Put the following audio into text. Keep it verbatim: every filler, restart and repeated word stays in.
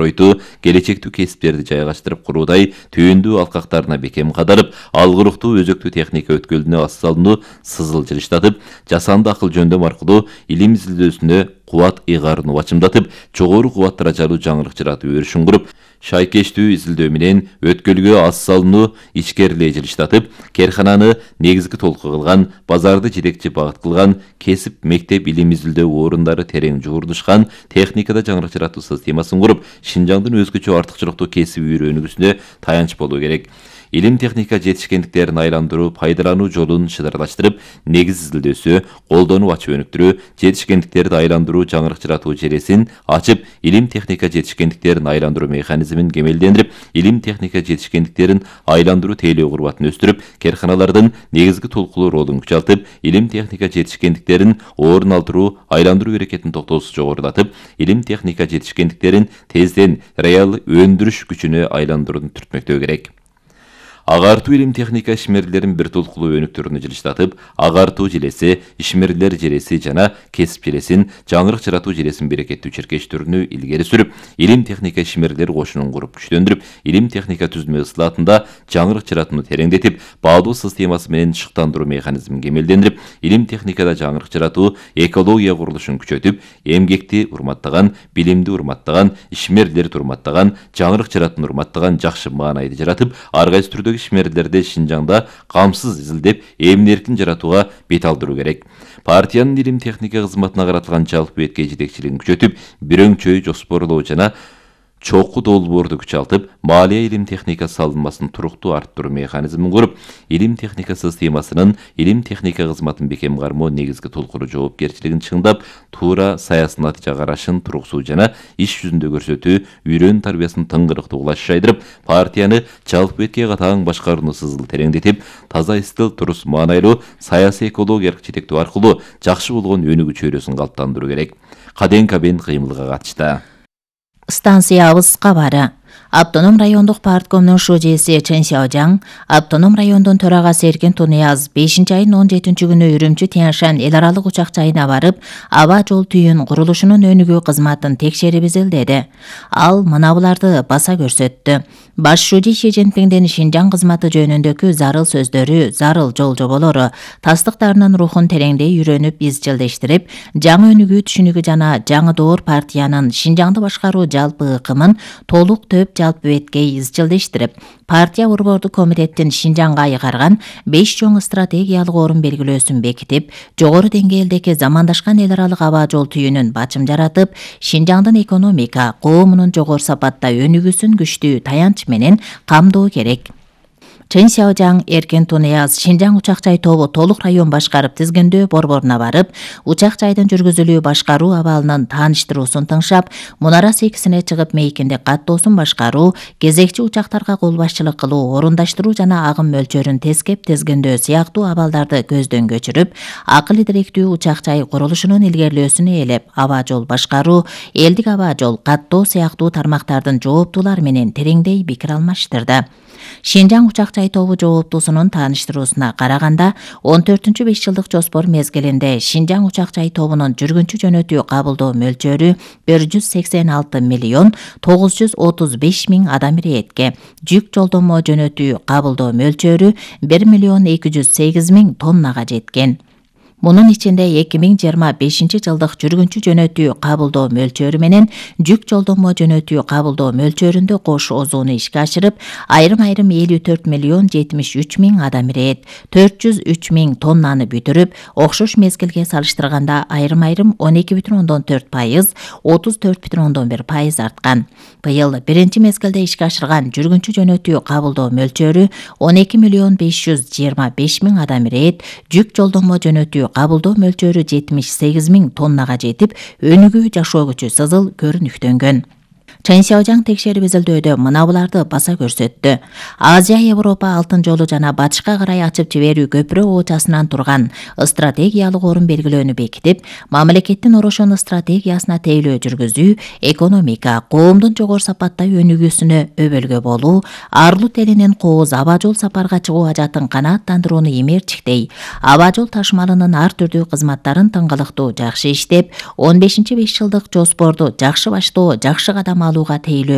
Ройту келечектүү кесиптерди жайгаштырып куруудай түйүндүү алкактарына бекем кадарып, алгырыктуу өзөктүү техника өткөлүнө асалынуу сызыл жылыштатып, жасанды акыл жөндөм аркылуу илим изилдөөсүнө кубат ыйгаарын убачымдатып, жогору кубат даражалуу жаңырык жаратуу өрүшүн куруп, шайкештүү изилдөө менен өткөлгө аз салынуу ичкерилээ жылыштатып, керкананы негизги толку кылган, базарды жетекчи багыт кылган, кесип мектеп илим изилдөө орундары терең жуурдушкан техникада жаңырык жаратуу системасын куруп, Шинжаңдын өзгөчө артыкчылыктуу кесиби үйрөнүүсүнө таянч болуу керек. Илим техника жетишкендиктерин айландыруу, пайдалануу жолун шыдарлаштырып, негиз изилдөөсү, колдонуп ачып өнүктүрүү, жетишкендиктерди айландыруу жаңырык жаратуу желесин ачып, илим техника жетишкендиктерин айландыруу механизмин кемелдендирип, илим техника жетишкендиктерин айландыруу тейлөө курбатын өстүрүп, керканалардын негизги толкулуу ролун күчалтып, илим техника жетишкендиктерин орун алдыруу, айландыруу эрекетин токтоосуз жогорулатып, илим техника жетишкендиктерин тезден реал өндүрүш күчүнө айландырууну түртмөктөө керек. Агартуу илим техника ишмерлерин бир толкулуу өнүктүрүүнү жылыштатып, агартуу желеси, ишмерлер желеси жана кесип желесин, жаңырык жаратуу желесин берекеттүү чиркештөрүнү илгери сүрүп, илим техника ишмерлер кошунун куруп күчтөндүрүп, илим техника түзмө ысылатында жаңырык жаратууну тереңдетип, баалуу системасы менен шыктандыруу механизмин кемелдендирип, илим техникада жаңырык жаратуу, экология курулушун күчөтүп, эмгекти урматтаган, билимди урматтаган, ишмерлерди урматтаган, жаңырык жаратууну урматтаган жакшы маанайды жаратып, ар кайсы түрдөгү ишмерлерди Шинжаңда камсыз изилдеп, эмин-эркин жаратууга бет алдыруу керек. Партиянын илим техника кызматына каратылган жалпы бетке жетекчилигин күчөтүп, бирөңчөй жоспорлоо жана чокку долбоорду күчалтып, малия илим техника салынмасын туруктуу арттыруу механизмин куруп, илим техника системасынын илим техника кызматын бекем кармоо негизги толкуру жоопкерчилигин чыңдап, туура саясий натыйжа карашын туруксуу жана иш жүзүндө көрсөтүү, үйрөнүү тарбиясын тыңгырыктуу кылаш жайдырып, партияны жалпы бетке катаң башкарууну сызыл тереңдетип, таза стил турус маанайлуу саясий экологиялык жетектөө аркылуу жакшы болгон өнүгүү чөйрөсүн калыптандыруу керек. Каден Кабен кыймылга катышты. Станциябыз кабары. Автоном райондук парткомдун шужеси Чен Сяожаң, автоном райондун төрагасы Эркен Тунияз бешинчи айдын он жетинчи күнү Үрүмчү Тянь-Шань эл аралык учак жайына барып, аба жол түйүн курулушунун өнүгүү кызматын текшерип изилдеди. Ал мына буларды баса көрсөттү. Баш шужи Ши Цзиньпиңдин Шинжаң кызматы жөнүндөгү зарыл сөздөрү, зарыл жол жоболору тастыктарынын рухун тереңдей үйрөнүп, изчилдештирип, жаңы өнүгүү түшүнүгү жана жаңы доор партиянын Шинжаңды башкаруу жалпы ыкымын толук төп жалпы бетке изчилдештирип, партия борбордук комитеттин Шинжаңга айгарган беш чоң стратегиялык орун белгилөөсүн бекитип, жогору деңгээлдеги замандашкан эл аралык аба жол түйүнүн бачым жаратып, Шинжаңдын экономика, коомунун жогору сапатта өнүгүүсүн күчтүү таянч менен камдоо керек. Чен Сяожаң Эркен Тунияз Шинжаң учак жай тобу толук район башкарып тизгиндөө борборуна барып, учак жайдын жүргүзүлүү башкаруу абалынын тааныштыруусун тыңшап, мунара секисине чыгып мейкиндик каттоосун башкаруу, кезекчи учактарга кол башчылык кылуу, орундаштыруу жана агым мөлчөрүн тескеп тизгиндөө сыяктуу абалдарды көздөн көчүрүп, акыл идиректүү учак жай курулушунун илгерилөөсүнө ээлеп, аба жол башкаруу, элдик аба жол каттоо сыяктуу тармактардын жооптуулары менен тереңдей пикир алмаштырды. Шинжаң учак жай тобу жооптуусунун тааныштыруусуна караганда, он төртүнчү беш жылдык жоспор мезгилинде Шинжаң учак жай тобунун жүргүнчү жөнөтүү кабылдоо мөлчөрү бир жүз сексен алты миллион тогуз жүз отуз беш миң адам иретке, жүк жолдомо жөнөтүү кабылдоо мөлчөрү бир миллион эки жүз сегиз миң тоннага жеткен. Мунун ичинде эки миң жыйырма бешинчи жылдык жүргүнчү жөнөтүү кабылдоо мөлчөрү менен жүк жолдомо жөнөтүү кабылдоо мөлчөрүндө кош озууну ишке ашырып, айрым-айрым элүү төрт миллион жетимиш үч миң адам ирет, төрт жүз үч миң тоннаны бүтүрүп, окшош мезгилге салыштырганда айрым-айрым он эки бүтүн ондон төрт пайыз, отуз төрт бүтүн ондон бир пайыз арткан. Быйыл биринчи мезгилде ишке ашырган жүргүнчү жөнөтүү кабылдоо мөлчөрү он эки миллион беш жүз жыйырма беш миң адам ирет, жүк жолдомо жөнөтүү кабылдоо мөлчөрү жетимиш сегиз миң тоннага жетип, өнүгүү жашоо күчү сызыл көрүнүктөнгөн. Чен Сяожаң текшерип изилдөөдө мына буларды баса көрсөттү. Азия Европа алтын жолу жана батышка карай ачып жиберүү көпүрө оочасынан турган стратегиялык орун белгилөөнү бекитип, мамлекеттин орошон стратегиясына тейлөө жүргүзүү, экономика, коомдун жогору сапатта өнүгүүсүнө өбөлгө болуу, арлут элинин кооз аба жол сапарга чыгуу ажатын канааттандырууну эмерчиктей, аба жол ташмалынын ар түрдүү кызматтарын тыңгылыктуу жакшы иштеп, он бешинчи беш жылдык жоспорду жакшы баштоо, жакшы кадам алууга тейлөө